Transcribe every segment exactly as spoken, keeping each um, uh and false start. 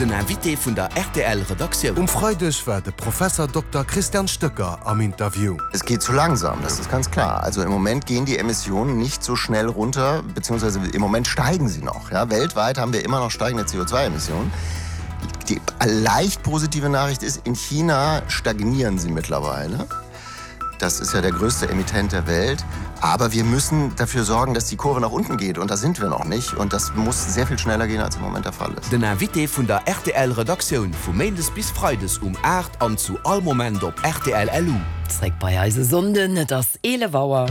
Den Invité vun der R T L Redaktioun. Um Freideg war de Professor Dokter Christian Stöcker am Interview. Es geht zu langsam, das ist ganz klar. Also im Moment gehen die Emissionen nicht so schnell runter, beziehungsweise im Moment steigen sie noch. Ja, weltweit haben wir immer noch steigende C O zwei Emissionen. Die leicht positive Nachricht ist, in China stagnieren sie mittlerweile. Das ist ja der größte Emittent der Welt. Aber wir müssen dafür sorgen, dass die Kurve nach unten geht. Und da sind wir noch nicht. Und das muss sehr viel schneller gehen, als im Moment der Fall ist. Den Invité vun der R T L Redaktioun vu Méindes bis Freides um aacht an zu all Moment op R T L L U. Zréck bei eise Sonnden, et ass eelef Auer.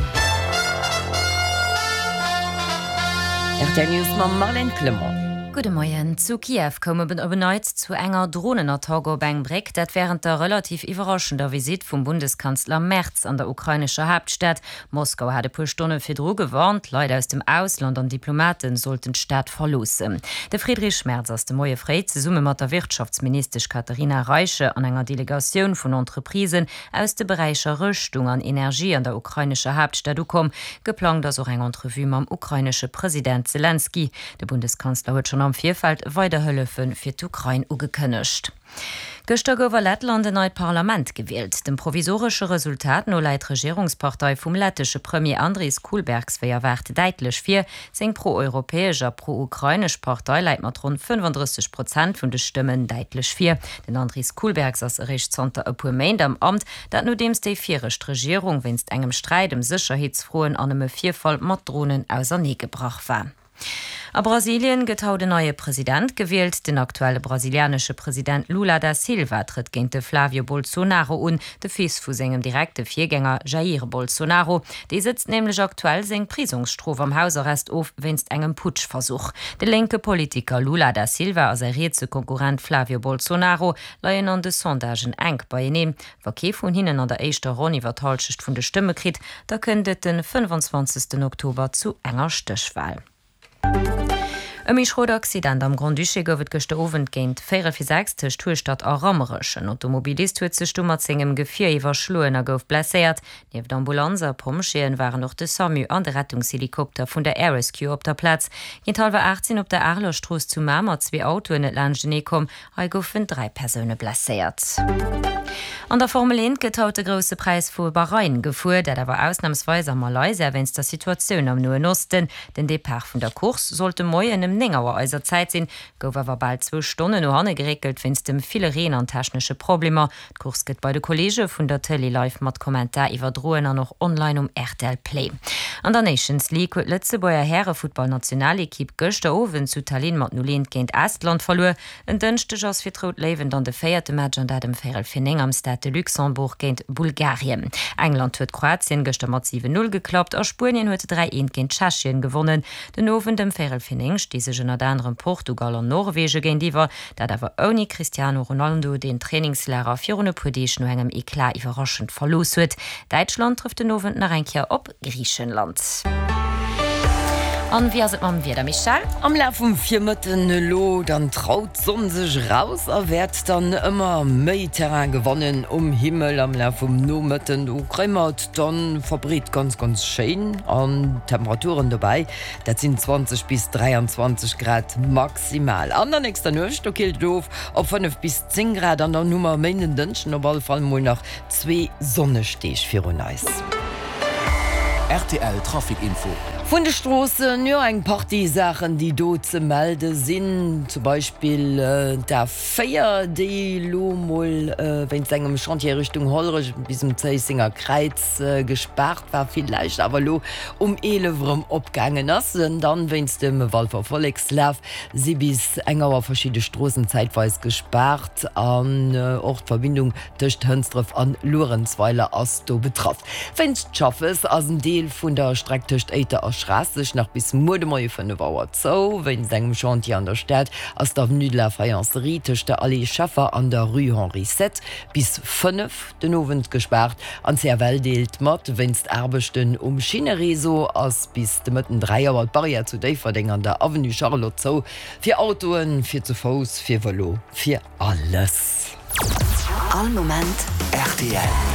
R T L News mam Marlène Clement. Gudde Moien. Zu Kiew koum et op en Neits zu enger Dronenattack op eng Bréck, dat wärend der relativ iwwerraschender Visitt vum Bundeskanzler Merz an der ukrainescher Haaptstad. Moskau hat e puer Stonne virdru gewarnt, Leit aus dem Ausland an Diplomate sollten d'Stad verloossen. De Friedrich Merz ass de Moie fréi zesumme mat der Wirtschaftsministesch Katharina Reiche an enger Delegatioun vun Entreprisen aus de Beräicher Rëschtung an Energie an der ukrainescher Haaptstad ukomm. Geplangt ass och eng Entrevue mam ukrainesche President Selenskyj. De Bundeskanzler huet schonn am Virfeld weider Hëllefe fir d'Ukrain ugekënnegt. Gëschter gouf a Lettland en neit Parlament gewielt. Dem provisoresche Resultat no läit d'Regierungspartei vum lettesche Premier Andris Kulbergs wéi erwaart däitlech vir. Seng pro-europäesch a pro-ukrainesch Partei läit mat ronn fënnefandrësseg Prozent vun de Stëmmen däitlech vir. Den Andris Kulbergs ass eréischt zanter e puer Méint am Amt, dat nodeems déi viregt Regierung wéinst engem Sträit ëm Sécherheetsfroen an ëm e Virfall mat Dronen auserneegebrach war. A Brasilien gëtt haut en neie President gewielt. Den aktuelle brasilianesche President Lula da Silva trëtt géint de Flavio Bolsonaro un, de Fils vu sengem direkte Virgänger Jair Bolsonaro. Dee sëtzt nämlech aktuell seng Prisongsstrof am Hausarrest of wéinst engem Putschversuch. De lénke Politiker Lula da Silva a säi rietse Konkurrent Flavio Bolsonaro leien an de Sondagen enk beieneen. Wa kee vun hinnen an der éischter Ronn iwwer d'Hallschent vun de Stëmme kritt, da kënnt et den fënnefenzwanzegsten Oktober zu enger Stéchwal. E méi schrot Accident am Grand-Duché gouf et gëschter Owend géint véierel vir sechs tëscht Hueschtert a Rammerech. En Automobilist huet sech du mat sengem Gefier iwwerschloen a gouf blesséiert. Nieft Ambulanz a Pompjeeën waren och de SAMU an de Rettungshelikopter vun der Air Rescue op der Plaz. Géint hallwer aacht sinn op der Areler Strooss zu Mamer zwee Autoen net laanschtenee komm. Hei goufen dräi Persoune blesséiert. An der Formel eent gëtt haut de Grousse Präis vu Bahrain gefuer, dat awer ausnamsweis a Malaysia wéinst der Situatioun am Noen Osten. Den Depart vun der Course sollt de Moien ëm néng Auer eiser Zäit sinn, gouf awer bal zwou Stonnen no hanne geréckelt wéinst dem ville Reen an technesche Problemer. D'Course gëtt bei de Kolleege vun der Tëlee live mat Kommentar iwwerdroen an och online um R T L Play. An der Nations League huet d'Lëtzebuerger Härefuttballnationalekipp gëschter Owend zu Tallinn mat null eent géint Estland verluer. En Dënschdeg ass fir d'Rout Léiwen dann de véierte Match an dat ëm véierel vir néng am Stade de Luxembourg géint Bulgarien. England huet Kroatien gëschter mat siwen null geklappt a Spuenien huet dräi eent géint Tschechien gewonnen. Den Owend ëm véierel vir néng sti sech ënnert anerem Portugal an Norwegen géintiwwer, dat awer ouni Cristiano Ronaldo, deen d'Trainingslager virun e puer Deeg no engem Eclat iwwerraschend verlooss huet. Däitschland trëfft den Owend nach eng Kéier op Griichenland. An wéi ass et mam Wieder, Michèle? Am Laf vum Virmëtten elo dann traut d'Sonn sech raus a wäert dann ëmmer méi Terrain gewannen um Himmel. Am Laf vum Nomëtten do kréie mer et dann verbreet ganz ganz schéin an Temperaturen dobäi dat sinn zwanzeg bis dräianzwanzeg Grad maximal. An der nächster Nuecht do killt et of op fënnef bis zéng Grad an dann hu mer e Méinden, Dënschden op alle Fall mol nach zwee sonneg Deeg virun eis. R T L Trafic Info. Vun de Stroossen, jo eng Partie Saachen déi do ze melde sinn, zum Beispill d'A véier déi lo mol wéinst engem Chantier Richtung Hollerech bis um Zéissenger Kräiz gespaart war, villäicht awer lo um eelef erëm opgaangen ass. Dann wéinst dem Walfer Vollekslaf si bis eng Auer verschidde Stroossen zäitweis gespaart an och d'Verbindung tëscht Hënsdref an Luerenzweiler ass do betraff. Wéinst Schaffes ass en Deel vun der Streck tëscht Éiter a Schraasseg nach bis muer de Moie fënnef Auer zou. Wéinst engem Chantier an der Stad ass d'Avenue de la Faïencerie tëscht der Allée Scheffer an der Rue Henri Sept bis fënnef den Owend gespaart. An C F L deelt mat, wéinst Aarbechten um Schinnereseau ass bis de Mëtten dräi Auer d'Barrière zu Déifferdeng an der Avenue Charlotte zou. Fir Autoen, fir ze Fouss, fir Vëlo, fir alles. All Moment R T L.